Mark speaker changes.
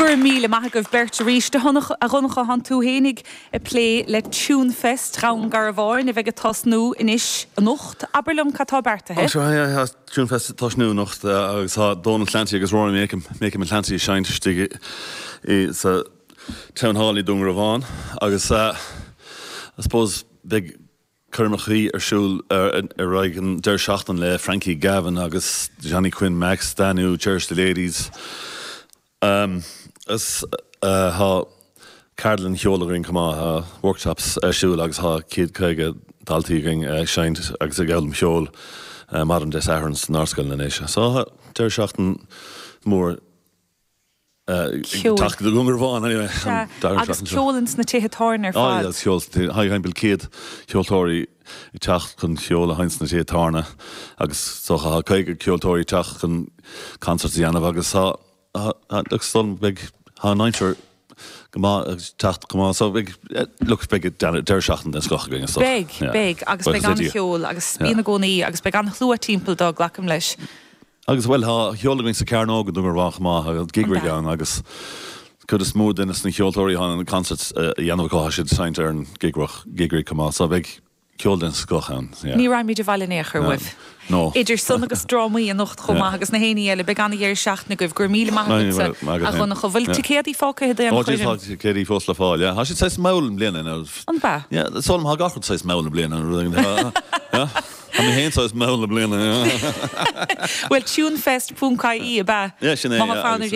Speaker 1: Go raibh míle maith agaibh beirt arís. A Dhonncha, thánn tú fhéinig ag plé le Tunefest Dhún Garbháin a bheidh ag tosnú anois anocht. Abair liom cad tá beartaithe?
Speaker 2: Ó sure, yeah, tá Tunefest ag tosnú anocht agus tá Dónal Clancy agus Rory Makem, Makem and Clancy ag seinnt istigh i sa Town Hall i Dún Garbhán agus I suppose beidh coirmeachaí ar siúl ar aghaidh an deireadh seachtaine le Frankie Gavin agus Johnny Quinn Max, Danú, Cherish the Ladies. Agus tá ceardlann cheoil againn chomh maith, tá workshops ar siúl agus tá 150 daltaí againn ag seinnt agus ag foghlaim cheoil maidin Dé Sathairn san Ardscoil anois. So tá deireadh seachtaine mór.
Speaker 1: Ceol.
Speaker 2: Teacht go Dún Garbhán anyway.
Speaker 1: Sea, agus ceol ins na tithe tábhairne ar fad.
Speaker 2: Agus ceol sna tithe, thimpeall 100 ceoltóirí ag teacht chun ceol a sheinnt sna tithe tábhairne agus so tá 50 ceoltóirí ag teacht chun concerts a dhéanamh agus tá, look, is dóigh liom beidh, tá an aimsir go maith ag teacht go maith so beidh, look, beidh deireadh seachtaine den scoth againn is
Speaker 1: dócha. Beidh, beidh agus beidh an-cheol agus bíonn i gcónaí agus beidh an-shlua timpeall dó, glacaim leis.
Speaker 2: Agus, bhuel, tá ceol againn sa Cearnóg i Dún Garbhán chomh maith, agus gig rig ann agus cuid is mó de na ceoltóirí atá na concerts a dhéanamh acu, tá siad ag seinnt ar an gig gig rig chomh maith, so beidh ceol den scoth ann,
Speaker 1: yeah. Ní raghaimid abhaile in aon chor uaibh.
Speaker 2: No.
Speaker 1: Idir san agus drámaí anocht chomh maith agus na héinní eile, beidh an-dheireadh seachtaine agaibh. Go raibh míle maith agatsa, a Dhonncha. Bhfuil ticéadaí fágtha d'aon
Speaker 2: Ó, tá ticéadaí fós le fáil, yeah. Tá siad saghas mall i mbliana,
Speaker 1: nó. An b'ea?
Speaker 2: Yeah, is dóigh liom, tá gach rud saghas mall i mbliana, nó rud éigin. Yeah. Tá mé féin saghas mall i mbliana.
Speaker 1: Bhuel, tunefest.ie ab
Speaker 2: ea? Yeah, sin é,
Speaker 1: Má tá fonn ar éinne.